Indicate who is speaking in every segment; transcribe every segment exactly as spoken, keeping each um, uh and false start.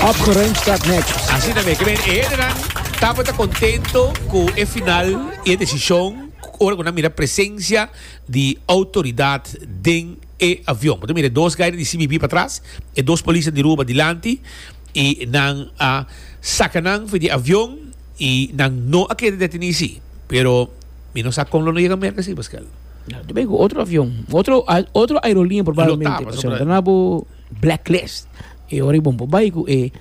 Speaker 1: Opgeruimd staat netjes.
Speaker 2: Asina tambe, ke men e hendenan tabata kontentu ku e final i e desishon ora ku nan mira presensia di outoridat den e avion. Bo ta mira dos guy di C B P patras, e dos polis di Aruba dilanti i nan a saka nan for di avion i nan no a keda detení si. Pero mi no sa kon lo no yega Merka si, Pascal.
Speaker 1: No, tu ku otro avion, otro otro aerolínea probablemente.
Speaker 2: Lo tapa,
Speaker 1: Pasobra
Speaker 2: sobra-
Speaker 1: na bo blacklist. E ora bon bai ku e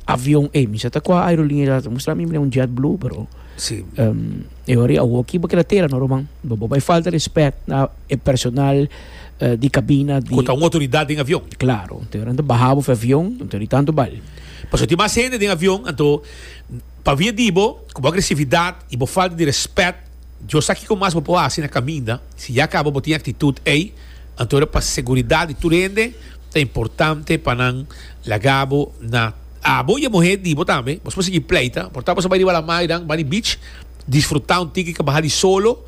Speaker 1: avion e mi sa ta kua aerolínea ta mustra mi un JetBlue, pero
Speaker 2: Si.
Speaker 1: um, e ora awo ki bo keda tera no, ruman. Bo bo bai falta respet na e personal eh, di kabina di
Speaker 2: Ku ta un outoridat den avion.
Speaker 1: Klaro, anto ora baha bo avion, anto di tantu bal.
Speaker 2: Paso tin mas hende den avion, anto pa via di bo, ku bo agresividat i bo falta di respet, Dios sa kiko mas bo por hasi na kaminda, si ya kaba bo tin aktitut ei, anto pa seguridat di tur hende, ta importante pa nan laga bo na abo i e muhé di bo tambe, bo por sigui pleita, por ta bo bai riba laman, bai beach, disfrutá un tiki ku baha di solo,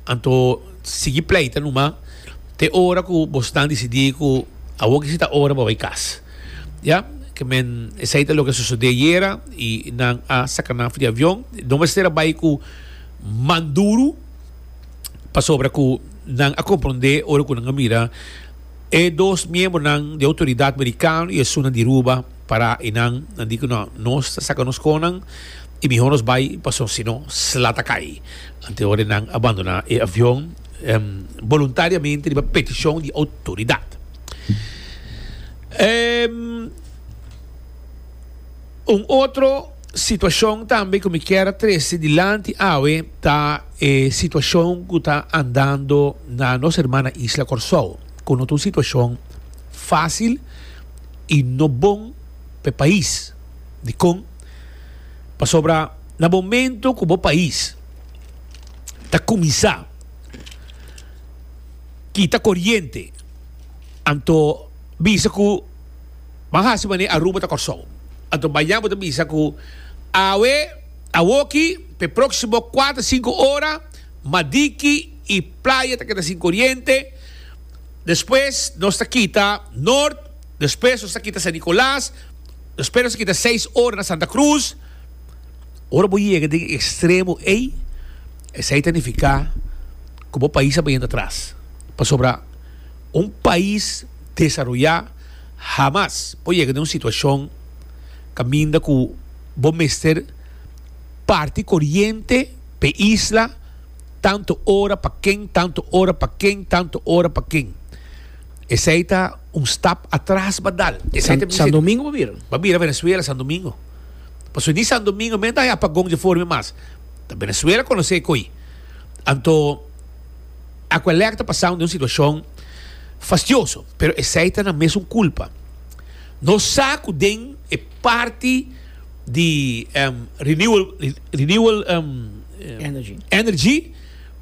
Speaker 2: anto sigui pleita numa, te ora ku bo ta disidí ku awor ku ta ora pa bai kas. Ja, ke men esei ta loke a sosodé ayera i nan a saka nan di avion, no mester a bai ku man duru pasobra ku nan a komprondé ora ku nan a mira e dos miembronan di outoridat merikano i esunnan di Aruba para i nan nan di ku no, nos saka nos konan i mihó nos bai paso sino sla ta kai. Anto ora nan a bandoná e avion um, voluntariamente riba petishon di outoridat. Um, un otro situashon tambe ku mi ke trese dilanti awe ta e situashon ku ta andando na nos hermana isla Kòrsou, ku no ta un situashon fásil i no bon pa pais. Dikon? Pasobra na momento ku e pais ta kuminsá kita koriente, anto bisa ku ban hasi manera Aruba ta Kòrsou, anto mañan bo ta bisa ku awe awoki pe próksimo kuater sinku ora Madiki i Playa ta keda sin koriente, despues nos ta kita Noord, despues nos ta kita San Nicolas, despues nos ta kita seis ora na Santa Cruz. Ora bo yega den ekstremo ei, esei ta nifiká ku e pais ta bai atras, pasobra un pais desaroyá hamas por yega den un situashon kaminda ku bo mester parti koriente pe isla tantu ora pa ken, tantu ora pa ken, tantu ora pa ken. Esei ta un stap atras b'a dal.
Speaker 1: San, San Domingo bira.
Speaker 2: B'a bira Venezuela, San Domingo. Paso ni San Domingo mes ta apagon di forma mas. Ta Venezuela konosé koi. Anto Aqualectra ta pasando den un situashon fastioso, pero esei ta nan mesun kulpa. Nos sa ku den e parti di um, renewal renewal um,
Speaker 1: energy.
Speaker 2: Energy,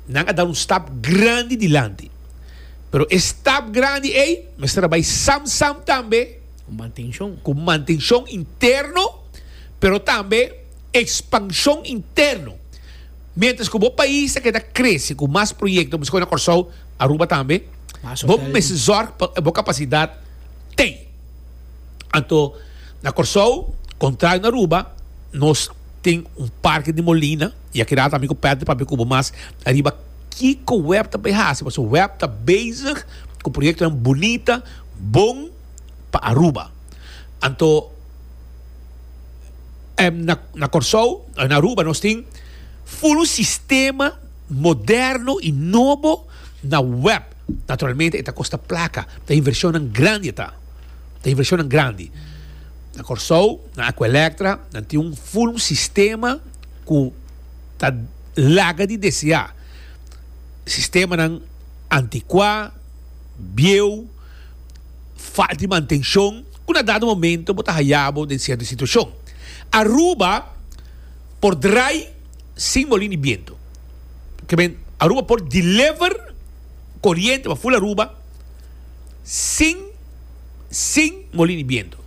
Speaker 2: nan a dal un stap grandi dilanti. Pero e stap grandi ei, mester bai sam sam tambe
Speaker 1: Ku mantenshon.
Speaker 2: Ku mantenshon interno, pero tambe ekspanshon interno. Mientras ku e pais ta keda krese ku mas proyekto, mas na Kòrsou, Aruba tambe,
Speaker 1: Mas
Speaker 2: bo
Speaker 1: hotel.
Speaker 2: Mester zorg pa bo kapasidat tin. Anto, na Kòrsou, kontrario na Aruba, nos tin un parke di molina, i aki tambe ku Pedro pa kubo mas ariba kiko W E B ta hasi, paso W E B ta bezig ku proyekto bunita, bon pa Aruba. Anto, em, na, na Kòrsou, na Aruba, nos tin full un sistema moderno i nobo na W E B. Naturalmente, ta kosta plaka, ta invershon grandi ta. Ta invershon grandi. Na Kòrsou, na Aqualectra, nan tin un full sistema ku ta laga di deseá. Sistemanan antikuá, bieu, falta di mantenshon, ku na dado momento bo ta haya bo den sierto situashon. Aruba por drai sin molina di bientu. Ke men, Aruba por deliver koriente pa full Aruba sin sin molina di bientu.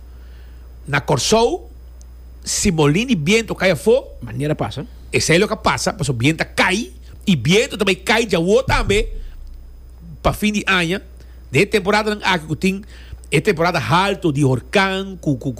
Speaker 2: Na Kòrsou, si molina di bientu kai afó,
Speaker 1: Manera pasa.
Speaker 2: Esei ta loke a pasa, paso bientu a kai i bientu tambe kai djawo tambe pa fin di aña, den temporada aki ku tin e temporada haltu di orkan ku ku ku